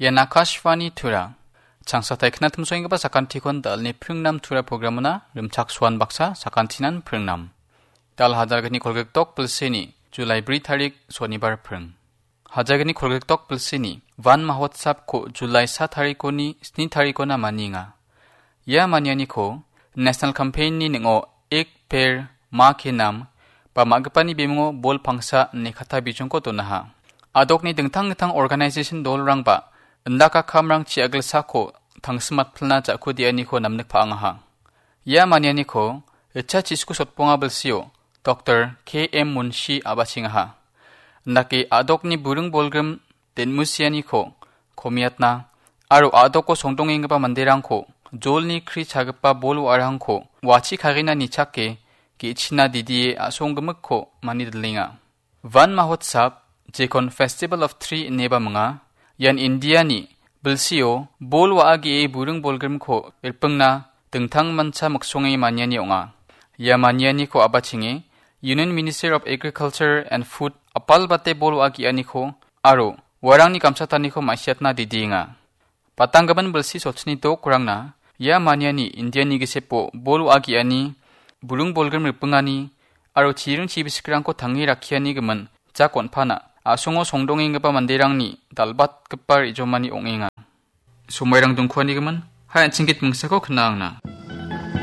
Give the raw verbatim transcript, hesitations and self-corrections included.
Ian Akashvani Tura. Changsatai knatimsoenggipa sakantikon dalni pringnam Tura programona rimchaksoan baksa sakantinan pringnam. Dal hajalgni kolgrikdok bilsini, Julai bri tarik, sonibar pring. Hajalgni kolgrikdok bilsini, Van Mahotsab ko Julai sa tarikoni sni tarikona manienga. Ia manianiko National Campaign-ni ning·o Ek Ped Maa Ke Naam ba ma·gipani bimungo bol pangsa ine katta bijongko donaha. Adokni dingtang dingtang organization dolrangba indaka kamrang chi·agilsako tangsimatpilna ja·kudianiko namnik pa·angaha. Ia manianiko Richa Chisku Sotbonga bilsio Doktor K M Munshi a·bachengaha. Indake adokni buring bolgrim den·musianiko komiatna aro adoko songdongenggipa manderangko jolni kri chagipa bol wa·arangko wachi kagina nichake ge·china didie a·songgimikko manidilenga. Van Mahotsab, jekon Festival of Tree ineba minga, ian Indiani bilsio bol wa·a ge·e buring bolgrimko ripingna dingtang mancha miksonge maniani ong·a. Ia manianiko a·bachenge Union Minister of Agriculture and Food apalbate bol wa·a ge·aniko aro uarangni gamchataniko ma·siatna didienga. Batanggimin bilsi sotchini dokrangna ia maniani Indiani gisepo bol wa·a ge·ani, buring bolgrim ripingani aro chiring chibisikrangko tange rakkiani gimin jak on·pana a·songo songdongenggipa manderangni dal·batgipa re·jomani ong·enga. Somoirang dongkuanigimin, hai an·ching git mingsako knangna.